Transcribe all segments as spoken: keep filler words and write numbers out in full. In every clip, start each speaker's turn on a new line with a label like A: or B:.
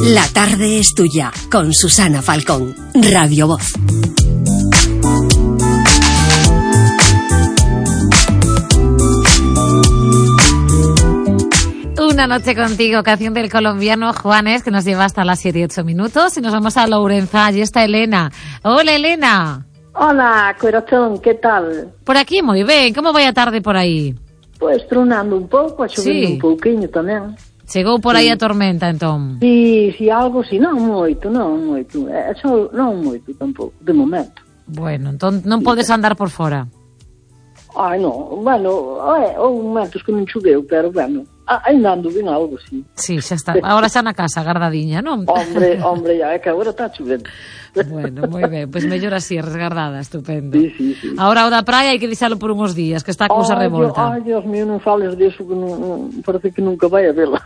A: La tarde es tuya, con Susana Falcón, Radio Voz.
B: Una noche contigo, canción del colombiano Juanes, que nos lleva hasta las siete y ocho minutos. Y nos vamos a Lourenço. Allí está Elena. Hola, Elena.
C: Hola, corazón, ¿qué tal?
B: Por aquí moi ben. Como vai a tarde por aí?
C: Pois tronando un pouco, a chovendo
B: Sí.
C: un pouquiño tamén.
B: Chegou por aí a tormenta, entón.
C: Si, si algo, si non moito, non moito. É só non moito tampouco, de momento.
B: Bueno, entón non podes andar por fora.
C: Ai, non, bueno, é, houve momentos que non choveu, pero, bueno, ainda ando ben algo, si.
B: Sí, xa está. Agora xa na casa, guardadiña, non?
C: Hombre, hombre, ya, é que agora está chovendo.
B: Bueno, moi ben, pois pues mellor así, resguardada, estupendo.
C: Sí, sí, sí.
B: Agora o da praia hai que deixalo por uns días, que está a cousa
C: Ai,
B: revolta.
C: Ai, Dios mío, non fales disso, que non, non, parece que nunca vai a vela.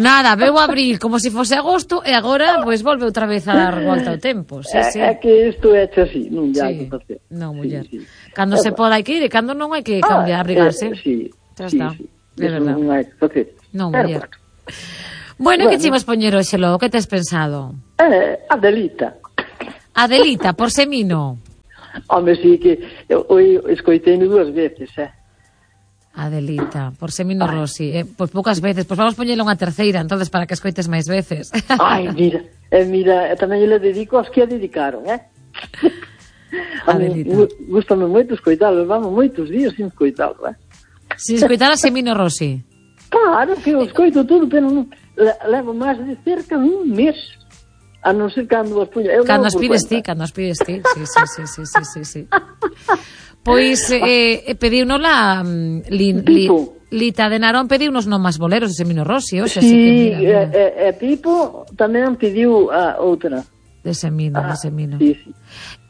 B: Nada, veo abril como se fose agosto e agora, pois, volve outra vez a dar volta ao tempo. Sí,
C: é,
B: sí.
C: é que isto é hecho así, non ya
B: Sí.
C: que facer.
B: Non, muller.
C: Sí, sí.
B: Cando se poda hai que ir e cando non hai que cambiar, abrigarse.
C: Eh, sí,
B: Xa
C: sí,
B: está.
C: sí.
B: É
C: Eso
B: verdad.
C: non hai que facer.
B: Non,
C: Pero,
B: muller.
C: bueno.
B: Bueno,
C: Bueno.
B: que chimos poñer hoxe logo? Que tes pensado?
C: Eh, Adelita.
B: Adelita, por semino.
C: Home, sí que eu, eu escoitei dúas veces, eh.
B: Adelita, por semino Rossi. Eh, pois poucas veces, pois vamos poñelo unha terceira, entonces para que escoites máis veces.
C: Ai, mira, eh, mira, eh, tamén le dedico aos que a dedicaron, eh.
B: Adelita.
C: Gústame moito escoitalo, vamos moitos días sin escoitalo, eh.
B: Si escoitara semino Rossi.
C: Claro que eu escoito todo, pero non, le- levo máis de cerca de un mes. A non ser cando as puña. Eu
B: Cando
C: levo
B: as
C: por
B: pides ti,
C: cuenta.
B: cando as pides ti. Sí, sí, sí, sí, sí, sí, sí. Pois eh, pediunola mm, li, li,
C: Pipo.
B: Lita de Narón pediunos non máis boleros de Semino Rossi, hoxe,
C: Sí,
B: así que mira, mira.
C: E, e, e Pipo tamén pediu a outra.
B: De Semino,
C: Ah,
B: de Semino.
C: sí, sí.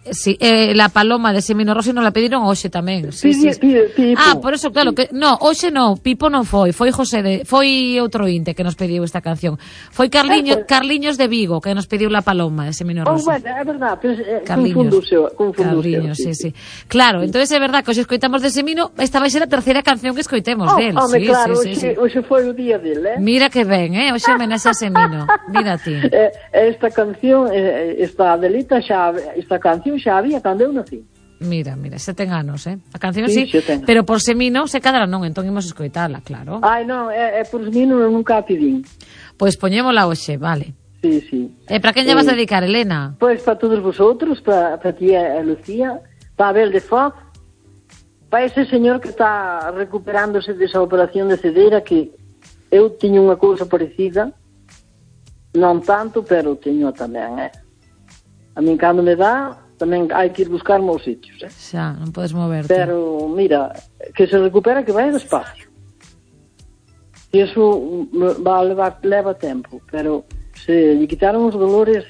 B: Sí, eh, la paloma de Semino Rossi non la pediron hoxe tamén. Sí,
C: Pide-
B: sí.
C: pide- Pipo.
B: Ah, por eso, claro, que no, hoxe non, Pipo non foi, foi José de, foi outro inte que nos pediu esta canción. Foi Carliño,
C: Eh, pues-
B: Carliños de Vigo que nos pediu la paloma de Semino
C: Oh,
B: Rossi.
C: bueno, é verdad, pero eh,
B: Carliños.
C: confunduse, confunduse.
B: Carliños, sí, sí. Claro, entonces é verdad que hoxe escoitamos de Semino, esta vai ser a terceira canción que escoitemos
C: Oh,
B: del.
C: home,
B: Sí,
C: claro,
B: sí, sí, sí.
C: hoxe, hoxe foi o día dele, eh?
B: Mira que ben, eh? Hoxe homenaxe a Semino. Mira ti.
C: Eh, esta canción, eh, esta Adelita xa, esta canción xa había cando eu nací.
B: Mira, mira, se ten anos, eh? A canción
C: Sí,
B: sí,
C: xa ten.
B: pero por Semino se cadra non, entón imos escoitala, claro.
C: Ai, non, é, é por os mí non, nunca a pedín.
B: Pois poñémola hoxe, vale.
C: Sí, sí.
B: E para quen lle vas
C: Eh,
B: dedicar, Elena?
C: Pois para todos vosotros, para, para ti e a Lucía, para Abel de Foz, para ese señor que está recuperándose desa operación de cedeira, que eu tiño unha cousa parecida, non tanto, pero teño tamén, eh. A min cando me dá, tamén hai que ir buscar maus sitios, eh.
B: Xa, non podes moverte.
C: Pero, mira, que se recupera, que vai despacio. E iso mm, va a levar, leva tempo, pero se lle quitaron os dolores,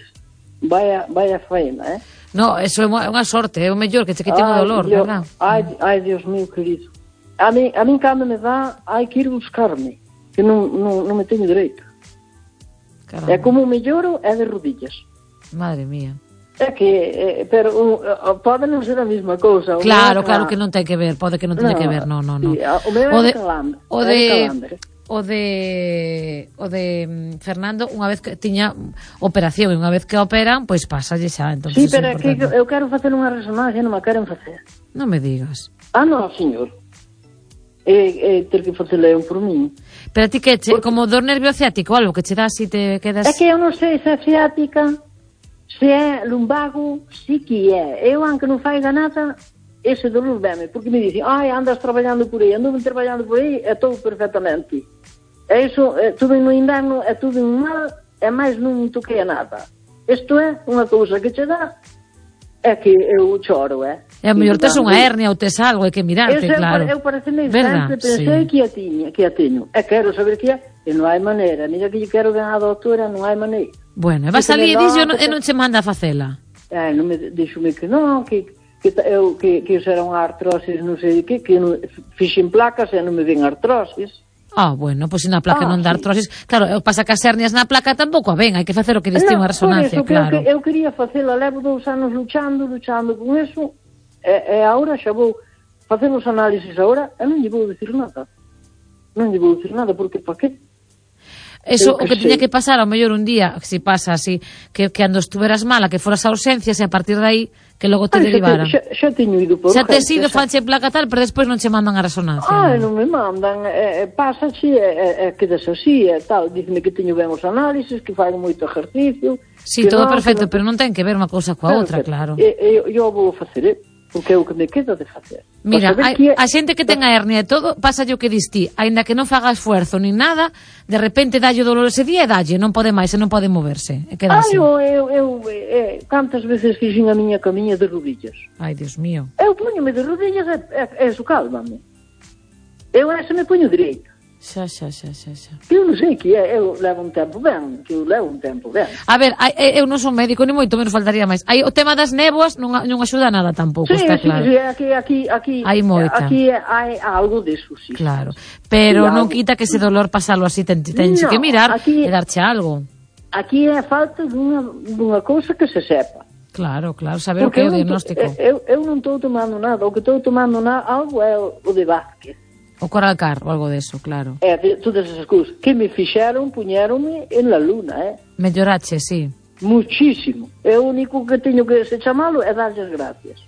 C: vai a, vai a faena, eh.
B: No, eso é unha unha sorte, é o mellor que che quiten o
C: Ai,
B: dolor,
C: Dios,
B: verdad?
C: Ai, ai, Dios mío, querido. A mí, a mí cando me dá, hai que ir buscarme, que non, non, non me teño dereito.
B: Caramba.
C: É como o melloro é de rodillas.
B: Madre mía.
C: É que, eh, pero uh, pode non ser a mesma cousa. O
B: Claro,
C: meu é
B: claro
C: ca-
B: que non ten que ver, pode que non teña que ver, no, no, no.
C: Sí, o meu
B: O
C: é
B: de-
C: de calambre.
B: o
C: é
B: de
C: calambre.
B: o de o de mm, Fernando, unha vez que tiña operación e unha vez que operan, pois pásalle xa, entonces
C: Sí,
B: é
C: pero é que
B: importante.
C: eu quero facer unha resonancia, non me queren facer.
B: Non me digas.
C: Ah, non, señor. É, é ter que facela eu por min.
B: Pero a ti que che, como dor nervio ciático, algo que che dá si te quedas...
C: É que eu non sei se é ciática, se é lumbago, si que é. Eu, aunque non faiga nada, ese dolor veme, porque me dicen, ai, andas traballando por aí, ando traballando por aí, é todo perfectamente. É iso, é tudo no inverno, é tudo en mal, é máis non toquei a nada. Isto é unha cousa que che dá, é que eu choro, é.
B: É a mellor tes unha
C: E
B: hernia ou tes algo, hai que mirarte,
C: Eu,
B: claro.
C: eu pareceme
B: Verdad?
C: sempre pensei
B: Sí.
C: que a tiña, que a teño. E quero saber que é, e non hai maneira. Mira que lle quero ver a doutora, non hai maneira.
B: Bueno, e vas
C: Que
B: ali e
C: me
B: dis,
C: nota,
B: e non che manda a facela.
C: Eh, non me dixome que non, que que ta- eu que que isso era unha artrosis, non sei de que, que non, fixen placas e non me ven artrosis.
B: Ah, bueno, pois pues, na placa
C: Ah,
B: non dá
C: sí.
B: artrosis. Claro, o pasa que as hernias na placa tampouco a ven, hai que facer o que diste
C: Non,
B: unha resonancia,
C: por eso, que
B: claro.
C: Eu, que- eu quería facela, levo dous anos luchando, luchando con eso, e, e agora xa vou facer os análisis agora, e non lle vou dicir nada. Non lle vou dicir nada, porque pa que?
B: Eso,
C: Eu
B: o que
C: sei.
B: tiña que pasar, ao mellor un día, si pasa así, que, que ando estuveras mala, que foras a urgencias e a partir de aí, que logo te
C: Ai, xa,
B: derivaran.
C: te, xa, xa teño ido por
B: Xa te has
C: urgencias,
B: ido,
C: xa.
B: fanche placa tal, pero despois non che mandan a resonancia.
C: Ai,
B: non?
C: non me mandan, eh, pasa así, e eh, eh, quedas así, e tal, diceme que teño ben os análisis, que fago moito ejercicio.
B: Sí,
C: que
B: todo
C: non,
B: perfecto,
C: que non...
B: pero non ten que ver unha cousa coa outra, claro.
C: E, e, eu vou facer, eh, porque é o que me queda de facer.
B: Mira,
C: Para saber
B: hai,
C: que é-
B: a xente que ten a hernia e todo, pasa yo que distí, aínda que non faga esfuerzo nin nada, de repente dalle o dolor ese día e dalle, non pode máis, e non pode moverse, e queda
C: Ai,
B: así.
C: eu, eu, eu eh, cantas veces fixen a miña camiña de rodillas.
B: Ai, Dios mío.
C: Eu puñome de rodillas e, e, e eso cálmame. Eu ese me puño direito.
B: Xa, xa, xa, xa, xa.
C: Eu non sei que é, eu levo un tempo ben, que eu levo un tempo ben.
B: A ver, hai, eu non son médico, ni moito menos faltaría máis. Hai o tema das néboas non, non axuda nada tampouco,
C: Sí,
B: está
C: sí,
B: claro.
C: sí, aquí, aquí, aquí,
B: Hai moita.
C: aquí hai algo de eso, sí.
B: Claro, pero
C: Sí,
B: non
C: algo.
B: quita que ese dolor pasalo así, ten, ten
C: No,
B: que mirar
C: aquí-
B: e darche algo.
C: Aquí é falta dunha, dunha cousa que se sepa.
B: Claro, claro, saber o que é o
C: eu non to-
B: diagnóstico.
C: Eu, eu non estou tomando nada, o que estou tomando na, algo é o, o de Vázquez.
B: O Coralcar ou algo deso, claro.
C: É de todas esas cousas que me fixeron, puñeronme en la luna, eh?
B: Mellorache, sí.
C: Muchísimo. É o único que teño que se chamalo é darlle as gracias.